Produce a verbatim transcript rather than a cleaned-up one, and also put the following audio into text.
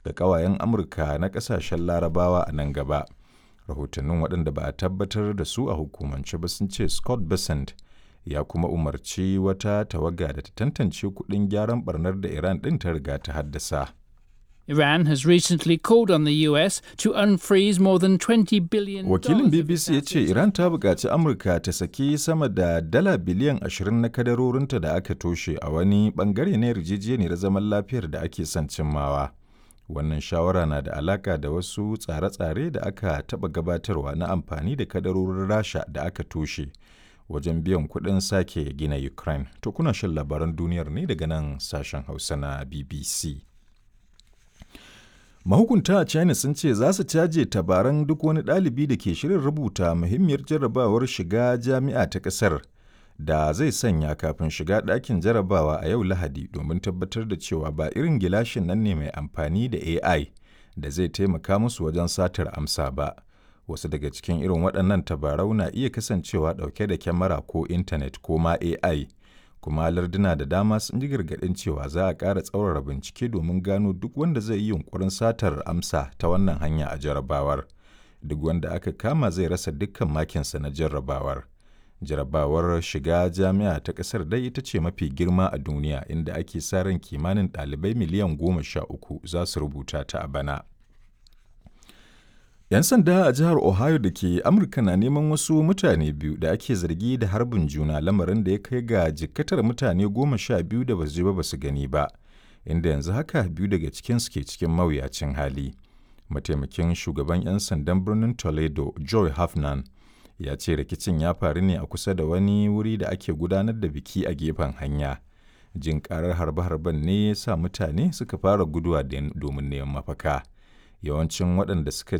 ga ƙawayen Amurka na ƙasashen Larabawa a nan gaba. Rahotannin waɗanda ba a tabbatar da su a hukumance ba sun ce Scott Bessent ya kuma umarci wata tawaga da ta tantance kuɗin gyaran barnar da Iran ɗin ta riga ta haddasa. Iran has recently called on the U S to unfreeze more than twenty billion Wakilin B B C ya ce Iran ta buƙaci Amurka ta saki sama da dala biliyan ashirin na kadarorinta da aka toshe a wani bangare na yarjejeniyar zaman lafiyar da ake son cimmawa. Wannan shawara na da alaka da wasu tsare-tsare da aka taɓa gabatarwa na amfani da kadarorin Rasha da aka toshe wajen biyan kuɗin sake gina Ukraine. To, kuna shan labaran duniyar ne daga nan sashen Hausa na B B C. Mahukunta a China sun ce za su caje tabaran duk wani ɗalibi da ke shirin rubuta muhimmiyar jarrabawar shiga jami'a ta ƙasar da zai sanya kafin shiga ɗakin jarrabawa a yau Lahadi, domin tabbatar da cewa ba irin gilashin nan ne mai amfani da A I da zai taimaka musu wajen satar amsa ba. Wasu daga cikin irin waɗannan tabarau na iya kasancewa ɗauke da kyamara ko intanet ko ma A I. Kuma larduna da dama sun ji gargaɗin cewa za a ƙara tsaurara bincike domin gano duk wanda zai yi yunkurin satar amsa ta wannan hanya a jarrabawar. Duk wanda aka kama zai rasa dukkan makinsa na jarrabawar. Jarrabawar shiga jami'a ta ƙasar dai ita ce mafi girma a duniya, inda ake sa ran kimanin ɗalibai miliyan goma sha uku za su rubuta ta a bana. 'Yan sanda a jihar Ohio da ke Amurka na neman wasu mutane biyu da ake zargi da harbin juna, lamarin da ya kai ga jikkatar mutane goma sha biyu da basu ji ba basu gani ba, inda yanzu haka biyu daga cikinsu ke cikin mawuyacin hali. Mataimakin shugaban 'yan sandan birnin Toledo, Joy Hafnan, ya ce rikicin ya faru ne a kusa da wani wuri da ake gudanar da biki a gefen hanya. Jin karar harbe-harben ne ya sa mutane suka fara guduwa domin neman mafaka. Yawancin waɗanda suka